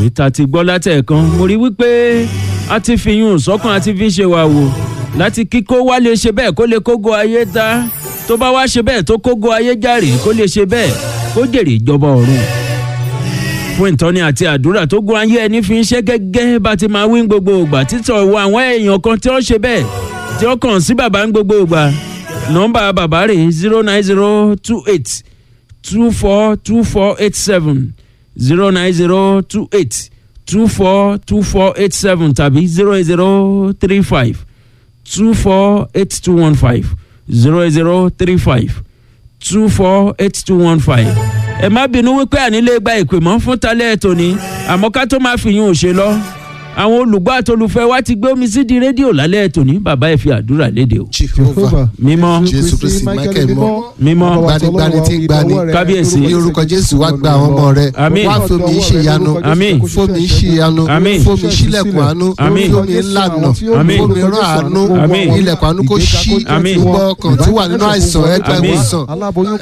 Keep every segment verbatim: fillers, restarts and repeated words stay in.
Ìta ti gbọ́ látẹ̀ẹ̀kan, mo rí wípé a ti fi yún sọ́kàn àti fi ṣe wà wò láti kíkó wá lè ṣe bẹ́ẹ̀ kó lè kógo ayé ta, tó bá wá ṣe bẹ́ẹ̀ tó kógo ayé jàre kó lè ṣe bẹ́ẹ̀ kó jèrè ìjọba ọ̀run. Fún ìtọ́ni àti àdúrà tó gun ayé ẹni fi ń ṣe gẹ́gẹ́ bá ti máa wí gbogbo ìgbà, títọ̀ ìwọ àwọn èèyàn kan tí ó ṣe bẹ́ẹ̀ tí ó kàn sí bàbá ń gbogbo ìgbà. Nọ́mbà bàbá rè zero nine zero two eight two four two four eight seven, zero nine zero two eight two four two four eight seven tàbí zero eight zero three five two four eight two one five, zero eight zero three five two four eight two one five. Ẹ má bínú wípé ànílé gba ìpè mọ́ fún talẹ́ tòní, àmọ́ ká tó máa fi yún òṣè lọ, àwọn olùgbọ́ àtolùfẹ́ wa ti gbé omi sídìí rédíò lálẹ́ tòní. Bàbá ẹ̀ fi àdúrà léde o. Jehovah. Mímọ́. Jésù Kristi Michael mọ́. Mímọ́. Gbanigbani tí ń gbani. Kábíyèsí. Ní orúkọ Jésù, wá gba àwọn ọmọ rẹ. Àmín. Wá fomi ṣèyanu. Àmín. Fomi ṣèyanu. Àmín. Fomi ṣílẹ̀kùn àánú. Àmín. Fomi lànà. Àmín. Fomi rán àánú. Àmín. Ilẹ̀kùn àánú kó ṣí. Àmín. Gbogbo ọkàn tí wà nínú àìsàn, ẹ gba Àmín. ìwòsàn.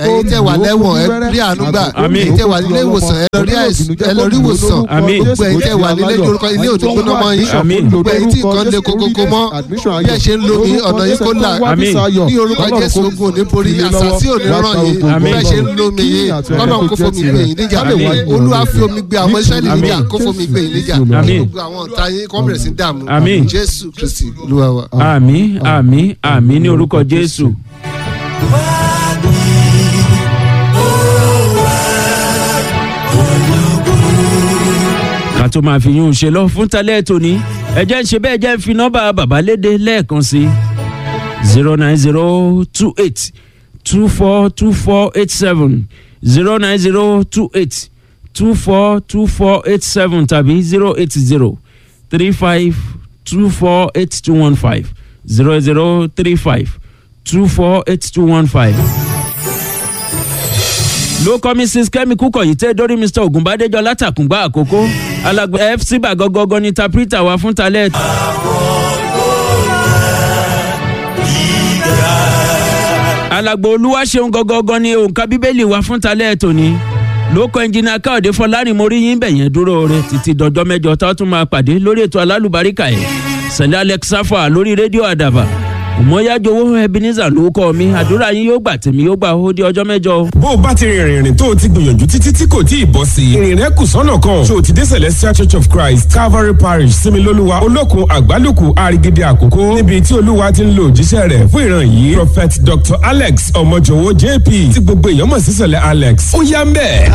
Ẹ̀yin tẹ́ wà lẹ́wọ̀n, ẹ rí àánú gbà. Àmín. Ẹ̀yin tẹ́ wà nílé ìwòsàn, ẹ lọ rí àìsàn, ẹ lọ rí ìwòsàn. Àmín. Gbogbo ẹ̀yin tẹ́ wà nílé lórúkọ ilé òní gbóná mọ́ yín. Àmín. Gbogbo ẹ̀yin tí nǹkan le kokoko mọ́, bí ẹ ṣe ń lo mi ọ̀nà yín kó là. Àmín. Ní orúkọ Jésù, ogun ò ní borí, àṣàsí ò ní ràn yín. Àmín. Bí ẹ ṣe ń lo mi yìí, kọ́nà kó fomi gbé yín níjà. Àmín. Olúwa fi omi gbé àwọn Ísírẹ́lì níjà, kó fomi gbé yín níjà. Àmín. Gbogbo àwọn ọ̀tá yín kó bẹ̀rẹ̀ sí í dààmú. Àmín. Jésù Kristi Olúwa wa. Àmín, àmín, àmín ní orúkọ Jésù. Ká tó máa fi yún un ṣe lọ fún talẹ́ tòní, ẹ jẹ́ ń ṣe bẹ́ẹ̀, jẹ́ ń fi nọ́mbà bàbá léde lẹ́ẹ̀kan sí, zero nine zero two eight two four two four eight seven, zero nine zero two eight two four two four eight seven tàbí zero eight zero three five two four eight two one five, zero zero three five two four eight two one five. Ló kọ́ Missus Kẹ́mi Kúkọ̀yí tẹ́ dórí Mister Ògúnbádéjọ látàkùngbà àkókò alàgbà F C bàgọ́gọ́gọ́ ní tapita wa fún talẹ́. Alàgbà Olúwaṣeun gọ́gọ́gọ́ ní òǹkà Bíbélì wa fún talẹ́ tòní. Ló kọ́ ẹnjìnà Káyọ̀dé Fọlárin, mo rí yín bẹ̀yẹn dúró rẹ títí dọjọ́ mẹ́jọ tá a tún máa pàdé lórí ètò alálùbáríkà yẹn, sẹ̀lẹ̀ Alex Safa lórí rédíò Àdàbà. Òmòyájowó Ebenezer ló kọ́ mi. Àdúrà yín yóò gbà, tèmi yóò gbà. Ó di ọjọ́ mẹ́jọ. Bó o bá ti rìnrìn rìn tó o ti gbìyànjú títí tí kò tí ì bọ́ sí i, ìrìn rẹ kù sọ́nà kan. Ṣé o ti dé Celestial Church of Christ, Calvary Parish, Similoluwa, Olókun, Àgbálùkù, Arigidi Àkókó, níbi tí Olúwa ti ń lo òjíṣẹ́ rẹ̀ fún ìran yìí, Prophet Doctor Alex Ọmọjọwọ J P, tí gbogbo èèyàn mọ̀ sí Sẹ̀lẹ̀ Alex? Ó yá ń bẹ̀.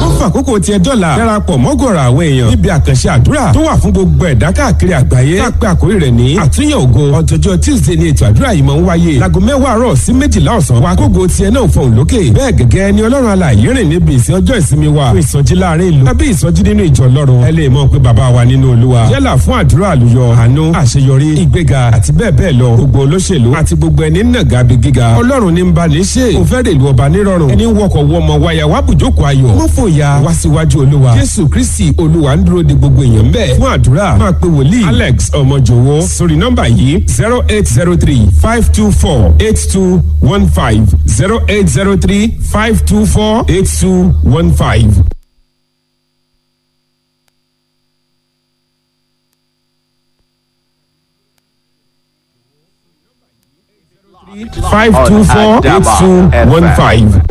Ó fàkókò tiẹ̀ dọ́là, darapọ̀ mọ́gọ̀rọ̀ àwọn èèyàn níbi àkànṣe àdúrà tó wà fún gbogbo ẹ̀dá káàkiri àgbáyé tá a pè àkórí rẹ̀ ní àtúnyẹ̀ ògo. Ọ̀tọ̀jọ́ Tuesday ni ètò àdúrà yìí máa ń wáyé láago mẹ́wàá àárọ̀ sí méjìlá ọ̀sán. Wa kógo tiẹ̀ náà fọ̀hún lókè. Bẹ́ẹ̀ gẹ́gẹ́ ni Ọlọ́run alààyè rìn níbi ìsìn ọjọ́ ìsinmi wa fún ìsọjí láàrin ìlú tàbí ìsọjí nínú ìjọ Ọlọ́run. Ẹ lè mọ̀ pé bàbá wa nínú Olúwa yálà fún àdúrà àlùyọ, àánú, àṣeyọrí, ìgbéga àti bẹ́ẹ̀ bẹ́ẹ̀ lọ. Gbogbo olóṣèlú àti gbogbo ẹni nàgà bí gíga, Ọlọ́run ní ń bá ní ṣe. Kò fẹ́ rèlú ọba nírọ̀rùn, ẹni ń wọkọ̀ wọ ọmọ wáyà wá bùjókòó ayọ̀, mọ́ fòyà wá síwájú Olúwa. Jésù Kristi Olúwa ń dúró de gbogbo èèyàn bẹ́ẹ̀ fún àdúrà. Máa pe wòlíì Alex Ọmọjòwó sórí nọ́mbà yìí, zero eight zero three five two four eight two one five, zero eight zero three five two four eight two one five. Five two four eight two one five.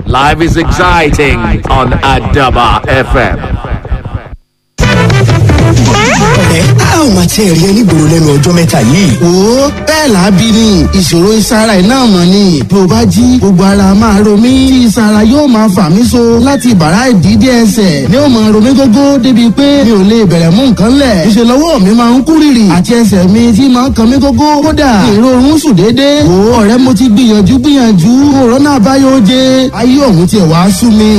Life is exciting on Adaba F M. Ọ̀rẹ́, a ò máa tiẹ̀ rí ẹ nígboro lẹ́nu ọjọ́ mẹ́ta yìí. Wo, bẹ́ẹ̀ là á bí ni. Ìṣòro ìsara iná mọ̀ ni. Bí o bá jí, gbogbo ara máa ro mí. Ìsara yóò máa fà mí so láti bàrá ìdídé ẹsẹ̀ ni ó máa ro mí gógó, débi pé mi ò lè bẹ̀rẹ̀ mú nǹkan lẹ̀. Ìṣèlọ́wọ́ mi máa ń kú rìrì àti ẹsẹ̀ mi tí máa ń kan mí gógó. Kódà èrò oorun sùn déédéé. Wo ọ̀rẹ́, mo ti gbìyànjú gbìyànjú, òrónà àbáyọ oje. Ayé òun tiẹ̀ wá sú mi.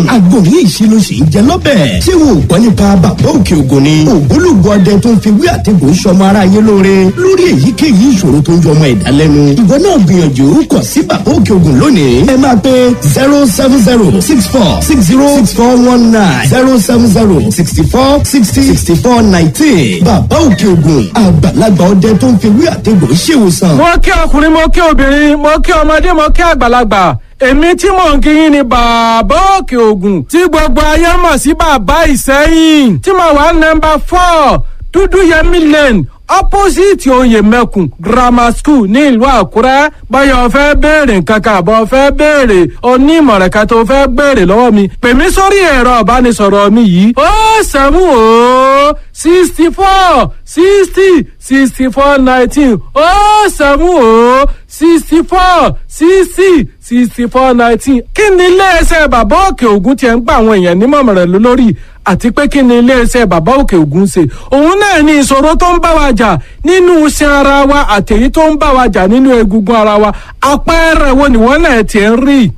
Àgbo yìí ṣe ló ṣe ń jẹ lọ́bẹ̀. Ṣé wo ò gbọ́ nípa bàbá òkè ògùn ni? Ògùn Ògbólógbò ọdẹ tó ń fi wí àtẹ̀gùn sọmọ aráyé lóore lórí èyíkéyìí ìṣòro tó ń jọmọ ẹ̀dá lẹ́nu. Ìwọ náà gbìyànjú kàn sí Bàbá Òkè Ògùn lónìí. Ẹ máa pe zero seven zero six four six zero six four one nine zero seven zero sixty four sixty sixty four nineteen. Bàbá Òkè Ògùn àgbàlagbà ọdẹ tó ń fi wí àtẹ̀gùn ṣèwòsàn. Mo kí ọkùnrin, mo kí obìnrin, mo kí ọmọdé, mo kí àgbàlagbà. Èmi tí mò ń kíyìn ni Bàbá Òkè Ògùn tí gbogbo ayé mọ̀ sí Bàbá Ìsẹ́yìn, tí mo wà nọ́mbà four Dúdú Yẹmí Lane, opposite Oyè Mẹ́kùn Grammar School ní ìlú Àkúrẹ́. Báyọ̀ fẹ́ béèrè nǹkan kan àbọ̀ fẹ́ béèrè onímọ̀ràn kan tó fẹ́ béèrè lọ́wọ́ mi, pè mí sórí ẹ̀rọ ìbánisọ̀rọ̀ mi yìí: ó seven ó sixty four sixty sixty four nineteen, ó seven ó sixty four sixty sixty four nineteen. Kí ni iléeṣẹ́ Bàbá Òkè Ògùn tiẹ̀ ń gba àwọn èèyàn nímọ̀ràn lórí, àti pé kí ni iléeṣẹ́ Bàbá Òkè Ògùn ṣe? Òun náà ni ìṣòro tó ń bá wa jà nínú iṣan ara wa àtèyí tó ń bá wa jà nínú egungun ara wa. Àpẹẹrẹ wo ni wọ́n náà tiẹ̀ ń rí?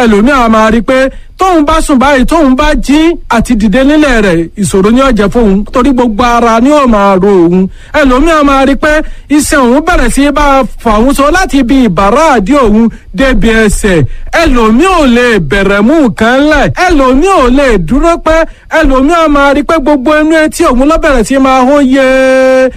Ẹlòmíràn máa rí i pé tóun bá sùn báyìí, tóun bá jí, àti dìde nílẹ̀ rẹ̀ ìṣòro ní ọ̀jẹ̀ fóun, torí gbogbo ara ni ó máa ro òun. Ẹlòmíràn máa rí pé iṣan òun bẹ̀rẹ̀ sí bá a fà òun so láti ibi ìbàrá àdí òun débi ẹsẹ̀. Ẹlòmíì ò lè bẹ̀rẹ̀ mú nǹkan lẹ̀, ẹlòmíì ò lè dúró pẹ́. Ẹlòmíì máa rí pé gbogbo inú etí òun ló bẹ̀rẹ̀ sí máa hó yé.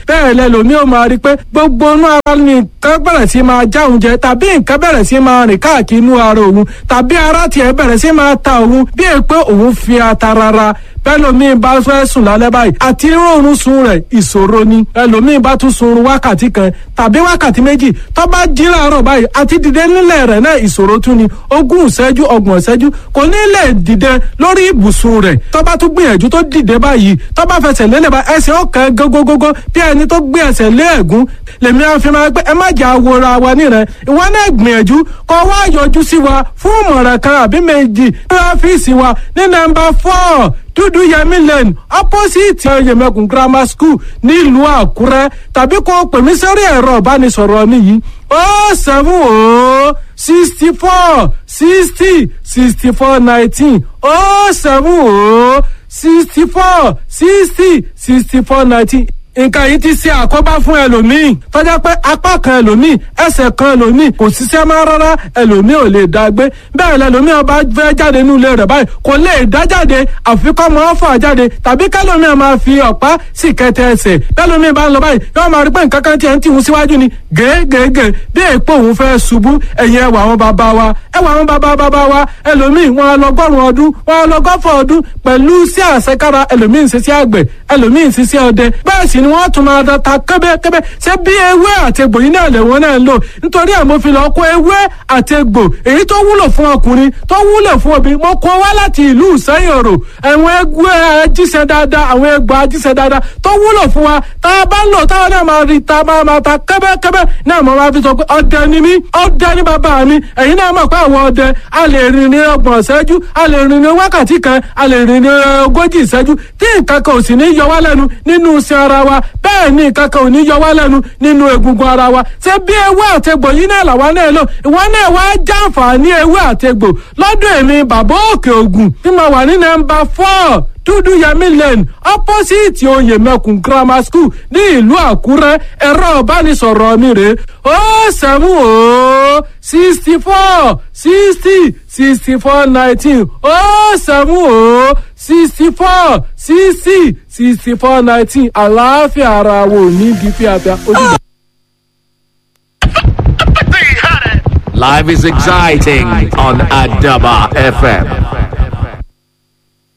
Bẹ́ẹ̀ lẹlòmíì ò máa rí pé gbogbo inú ara ni nǹkan bẹ̀rẹ̀ sí máa já òun jẹ, tàbí nǹkan bẹ̀rẹ̀ sí máa rìn káàkiri inú ara òun, tàbí ara tiẹ̀ bẹ̀rẹ̀ sí máa ta òun bí è pé òun fi ata rárá. Bẹ́lòmíì bá fẹ́ sùn lálẹ́ báyìí, àti rọrùn sun rẹ̀ ìṣòro ni. Ẹlòmíì bá tún sunrun wákàtí kan tàbí wákàtí méjì, tó bá jí láàárọ̀ báyìí, àti dìde nílẹ̀ rẹ̀ náà ìṣòro tún ni. Ogún ìṣẹ́jú, ọgbọ̀n ìṣẹ́jú, kò ní lè dìde lórí ibùsùn rẹ̀. Tó bá tún gbìyànjú tó dìde báyìí, tó bá fẹsẹ̀ lélẹ̀ bá, ẹsẹ̀ ọ̀kan gógógógó bí ẹni tó gbé ẹsẹ̀ lé ẹ̀gún. Lèmi á fi máa pé ẹ má jà wòra wa nírẹ̀. Ìwọ náà gbìyànjú kó wá yọjú sí wa fún ìmọ̀ràn kan àbí méjì ní ọ́fíìsì wa ní nọ́mbà four Dúdú Yẹmí Lane, opposite Oyèmẹkùn Grammar School nílùú Àkúrẹ́, tàbí kó pè mí sórí ẹ̀rọ ìbánisọ̀rọ̀ mi yìí: ó seven ó sixty four sixty sixty four nineteen, ó seven ó sixty four sixty sixty four nineteen. Nǹkan yìí ti ṣe àkóbá fún ẹlòmíì tọ́jà pé apá kan ẹlòmíì, ẹsẹ̀ kan ẹlòmíì kò ṣiṣẹ́ mọ́ rárá. Ẹlòmíì ò lè dá gbé bẹ́ẹ̀. Lẹlòmíì ọba fẹ́ jáde nínú ilé rẹ̀ báyìí, kò lè dá jáde, àfi kọ́ mọ́ fà jáde, tàbí kẹlòmíì máa fi ọ̀pá sì kẹtẹ ẹsẹ̀. Bẹ́lòmíì bá ń lọ báyìí, yóò máa rí pé nǹkan kan tiẹ̀ ń tìhun síwájú ni gègègè bí èèpo òun fẹ́ ṣubú. Ẹ̀yìn ẹwà àwọn bàbá wa, ẹwà àwọn bàbá bàbá wa, ẹlòmíì wọn lọgọ́rùn ọdún, wọn lọgọ́fọ̀ ọdún pẹ̀lú sí àṣekára. Ẹlòmíì ń ṣiṣẹ́ àgbẹ̀, ẹlòmíì ń ṣiṣẹ́ ọdẹ, bẹ́ẹ̀ sì ni wọ́n tún máa da ta kẹ́bẹ́kẹ́bẹ́. Ṣé bí ewé àti egbò yìí náà lẹ̀wọ̀n náà ń lò? Nítorí ẹ̀ mo fi lọ kó ewé àti egbò èyí tó wúlò fún ọkùnrin, tó wúlò fún obìnrin, mo kó wá láti ìlú Ìsẹ́yìn Òrò. Àwọn egbò ajíṣẹ́ dáadáa, àwọn egbò ajíṣẹ́ dáadáa tó wúlò fún wa tá a bá ń lò, táwọn náà máa rí ta máa máa ta kẹ́bẹ́kẹ́bẹ́ náà. Mo máa fi sọ pé ọdẹ ni mí, ọdẹ ni bàbá mi. Ẹ̀yin náà mọ̀ pé àwọn ọdẹ a lè rìn ní ọgbọ̀n ìṣẹ́jú, a lè rìn ní wákàtí kan, a lè rìn ní ogójì ìṣẹ́jú, tí nǹkan kan ò sì ní yọ wá lẹ́nu nínú iṣẹ́ ara wa. Bẹ́ẹ̀ ni nǹkan kan ò ní yọ wá lẹ́nu nínú egungun ara wa. Ṣé bí ewé àtegbò yìí náà làwa náà lò? Ìwọ náà wá jàǹfààní ewé àtegbò lọ́dún èmi Bàbá Òkè Ògùn tí mo wà ní nọ́mbà four Dúdú Yẹmí Lane, opposite Oyèmẹkùn Grammar School ní ìlú Àkúrẹ́. Ẹ̀rọ ìbánisọ̀rọ̀ mi rèé: ó seven ó sixty four sixty sixty four nineteen, ó seven ó sixty four sixty sixty four nineteen. Àlàáfíà ara wo ní bí fíafíà ó dìgbà. Life is exciting on Adaba F M.